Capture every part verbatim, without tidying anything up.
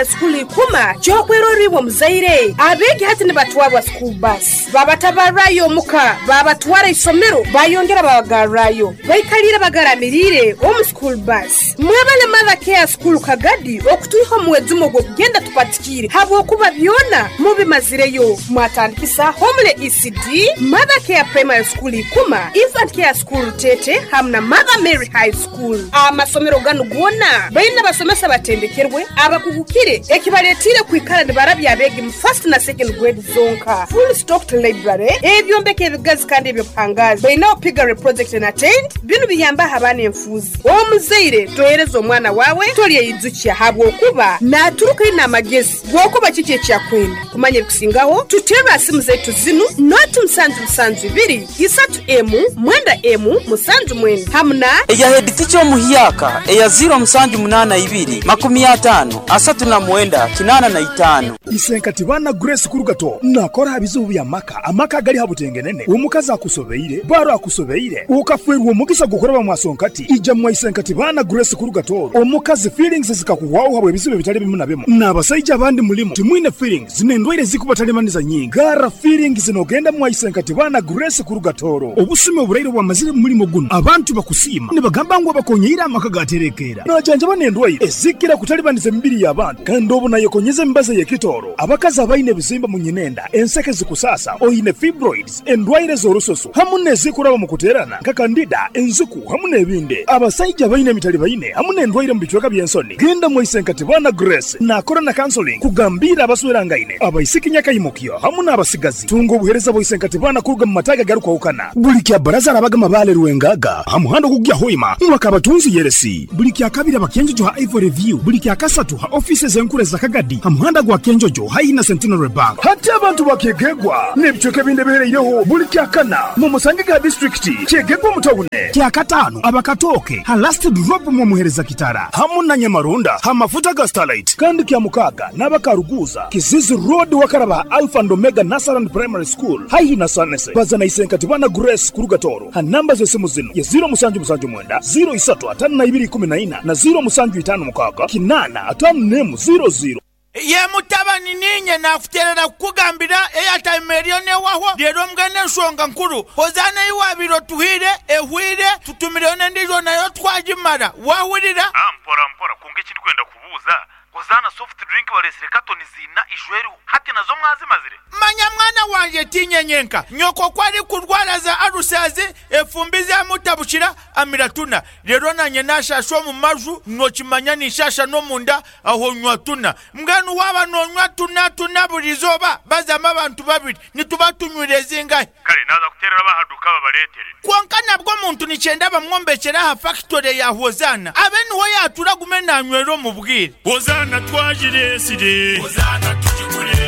School ikuma kyokweroribwa muzaire abeegi hati nibatwarwa school bus, babatabarrayo omuka, babatwara isomero, bayongera babagarrayo, baikalire bagaramirire omu school bus. Mwebale Mother Care School Kagadi okutwiha omuwezumo ogw'okugenda tupatikire habwokuba byona mubimazireyo. Mwatandikisa Homely E C D, Mother Care Primary School Ikuma, Infant Care School Tete hamu na Mother Mary High School. Amasomero ganu gona baina basomesa batendekerwe abakugukire, ekibaletire kwikara nibarabya abeegi mu first na second grade zonka. Full stocked library, ebyombeko ebigazi kandi ebyobuhangazi, bainaho piggery project na tent. Binu biyambaho abaana enfuuzi. Omuzaire tohereza omwana wawe tolyeyijukya habwokuba naturuka ina amagezi gwokuba kiki ekyakwenda kumanya. Ebikusingaho tuterwa simu zaitu zinu: noti musanju musanju ibiri isatu emu mwenda emu musanju mwenda hamu na eya head teacher omuhyaka eya ziro musanju munana ibiri makumi atano asatu na mwenda kinana na itano. Isenkati bana Grace Kurugato nakora ha bizibu bya maka, amaka gali habutengenene, omukazi akusobeire, baro akusobeire, ukafwerwa omugisa gukoraba mwasonkati, ija mwa Isenkati bana Grace Kurugato. Omukazi feelings zikakuhwaho habwe ebizibu ebitali bimu na bimu, n'abasaija abandi mulimu timwine feelings n'endwaire zikubatalimaniza nyingi. Gara feelings nogenda mwa Isenkati bana Grace Kurugatoro. Obusumi oburaire bwamazire mu mulimo guno, abantu bakusiima nibagamba ngu abakonyeire amaka gaterekeera, najanjaba n'endwaire ezikira kutalibaniza emibiri y'abantu, kandi obu nayekonyeza emibazi y'ekitoro. Abakazi abaine ebizimba mu nyinenda, enseke zikusasa, oyine fibroids, endwaire z'orususu hamu n'ezikuraba mu kuterana nka candida, enziku hamu n'ebindi. Abasaija abaine emitali baine hamu n'endwaire mu bicweka by'ensoni, genda mwa Isenkati bana Grace. Nakora na counseling kugambira abaswerangaine, abaisiki nyakaimukyo hamu n'abasigazi. Tunga obuhereza bwa Isenkati bana kuruga mu mataga garukwahukana buli kya baraza arabaga mabale Rwengaga ha muhanda ogugya Hoima mwaka abatunzi yeresi, buli kya kabiri abakenjojo ha Ivory View, buli kya kasatu ha offices enkuru za Kagadi ha muhanda gwa Kenjojo haihi na Centenary Bank. Hati abantu bakyegegwa n'ebicweka ebindi ebihereireho, buli kya kana mu musange ga distrikiti kyegegwa mutawune, kya katano abakatoke ha Last Drop mwamuhereza kitara hamu na Nyamarunda ha mafuta ga Starlight, kandi kya mukaga n'abakaruguza Kizizi Road wakaraba Alpha and Omega Nursery Primary School haihi na Sanese. Baza na Isenkati bana Grace Kurugatoro ha namba z'esimu zino ya ziro musanju musanju mwenda ziro isatu atano na ibiri kumi na ina na ziro musanju itano mukaga kinana atano nemu ziro ziro. Ye mutabani, ninye nakuterera kukugambira airtime eriyo newahwa rero mbwene enshonga nkuru Hozaana yiwabire otuhire ehwire tutumireyo n'endijo nayo twagimara wahurira. Ah, mpora mpora kunga ekindi kwenda kubuuza, Hozana soft drink baresire katoni zina ijweriho hati, nazo mwazimazire? Manya mwana wanje, tinyenyenka nyoko kwari kurwara za arusazi, efumbi zamutabukira amira tuna, rero nanye nashasha omu maju nokimanya nishasha n'omunda aho nywa tuna. Mbwenu waba nonywa tuna tuna buri izooba bazamu abantu babiri nituba tunywire zingahe? Kale naza kuterera bahaduka babaretere. Konka nabwo omuntu nikyenda bamwombekera aha factory ya Hozana abe niho yatura gume nanywera omu bwire. Hozana twagiresire, Hozana tugigure.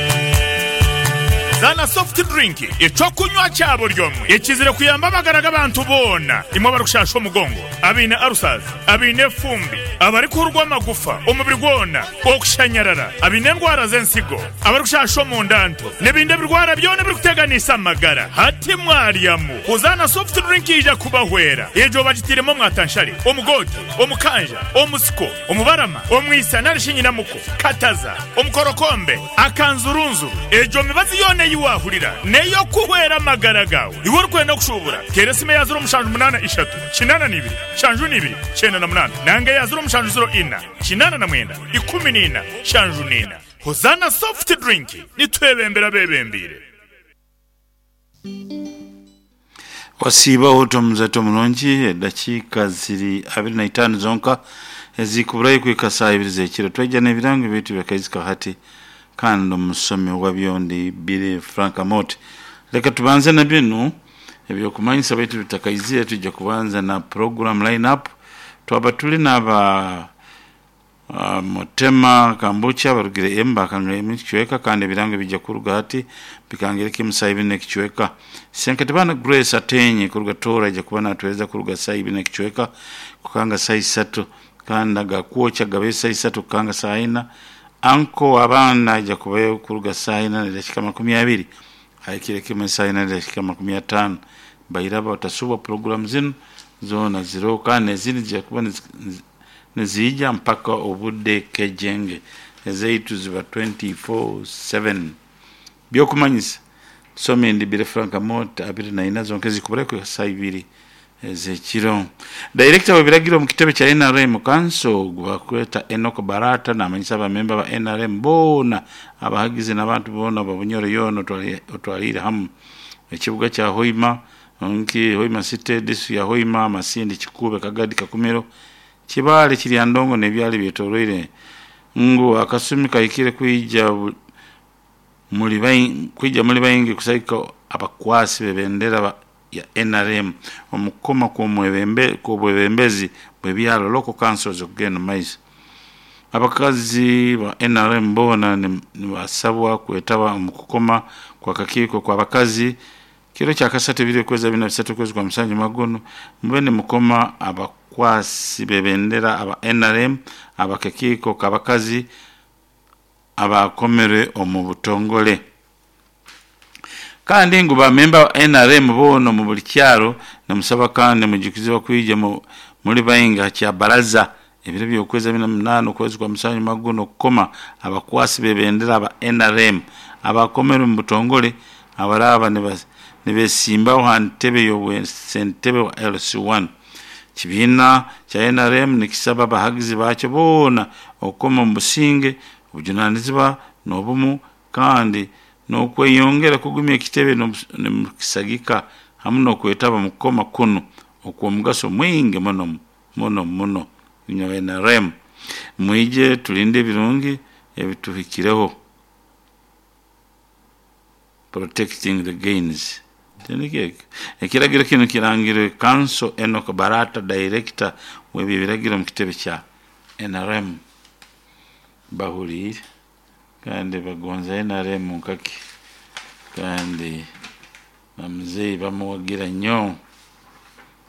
Zana soft drink, ekyokunywa kya buri omwe ekizire kuyamba amagara g'abantu boona. Imwe abarikushasha omugongo, abaine arusazi, abaine efumbi, abarikuhurwa amagufa omubiri gwona, okushanyarara, abaine endwara z'ensigo, abarikushasha omundanto n'ebindi ebirwara byona ebirikuteganisa amagara, hati mwaryamu Hozana soft drink ija kubahwera. Egyo bagitiremu omwatanshare, omugote, omukanja, omusiko, omubarama, omwisa narishi nyinamuko, kataza, omukorokombe, akanzurunzuru. Egyo mibazi yoona ei wahurira neyo kuhwera amagara gawe. Iwe orikwenda kushubura, tera esimu eya ziro mushanju munana ishatu kinana nibiri shanju nibiri kyenda na munana nanga eya ziro mushanju ziro ina kinana na mwenda ikumi nina shanju nina. Hozana soft drink, nitwebembera bebembire. Wasiibaho omuzato mulungi, edakiika ziri abiri na itaano zonka ezikuburayo kuhika saa ibiri z'ekiro. Twajja n'ebirango bitu byakaizika hati, kandi omusomi wa byondi Bire Frank Amot. Leka tubanze na binu ebyokumanyisa baitu bitakaizire. Tujja kubanza na program line up. Twaba tuli n'aba uh, Mutema Kambucha barugire emba kanga emicweka, kandi ebirango bijja kuruga hati bikangire kimu saa ibiri n'ekicweka. Senkati bana Grace Atenye kuruga Tora ija kuba natuweza kuruga saa ibiri n'ekicweka kukanga saa isatu, kandi agakwokya gabe saa isatu kukanga saa ina. Anko abaana ija kubayo kuruga saa ina nedakika makumi abiri haikire kimwe saa ina nedakika makumi atano. Bairaba batasubwa program zinu zona ziro, kandi nezindi zijja kuba nizi- niziija mpaka obudde kejenge. Ezaitu ziba twenty-four seven. Byokumanyisa some ndibire Frank Mot abiri na ina zonke zikubura ku saa ibiri ezekiro. Director w'ebiragiro mu kitebe kya N R M Council gwakweta Enoch Barata namanyisa abamemba ba N R M bona abahagizi n'abantu bona babunyoro yono otwalire hamu ekibuga kya Hoima nki Hoima City district ya Hoima Masindi Kikube Kagadi Kakumiro Kibale Kiryandongo n'ebyali byetoroire ngu akasumi kahikire kwija muri bayi kwija muri bayingi kusaika abakwasi bebendera ya N R M omukoma ku mwebembe ku bwebembezi bwebyalo local councils okugenda maiso. Abakazi ba N R M bona nibasabwa kwetaba omukukoma kwa kakiiko kwa bakazi kiro kya kasatu bibiri kweza bina bisatu kwezi kwa musanju magono mbene mukoma abakwasi bebendera aba N R M abakakiiko kabakazi abakomere omu butongole. Kandi ngu ba memba wa N R M bono mu buli kyalo namusaba kandi mujukizibwa kwija muri bayinga kya baraza ebiro by'okwezi bina munana okwezi kwa musanju magono kukoma abakwasi bebendera aba N R M abakomere mu butongole abaraba nibesimbaho ha ntebe y'obwensentebe wa L C one. Kibiina kya N R M nikisaba abahagizi bakyo boona okukoma mu businge obujunanizibwa n'obumu kandi n'okweyongera kugumya ekitebe n'omukisagika hamu n'okwetaba mu kukoma kuno okw'omugaso mwingi muno muno muno. Inywe N R M mwije tulinde ebirungi ebituhikireho, protecting the gains. Ekiragiro kino kirangirwe Council Enoch Barata director w'ebiragiro mu kitebe kya N R M. Bahuriire kandi bagonza N R M nkaki kandi na muzeeyi bamuwagira nnyo.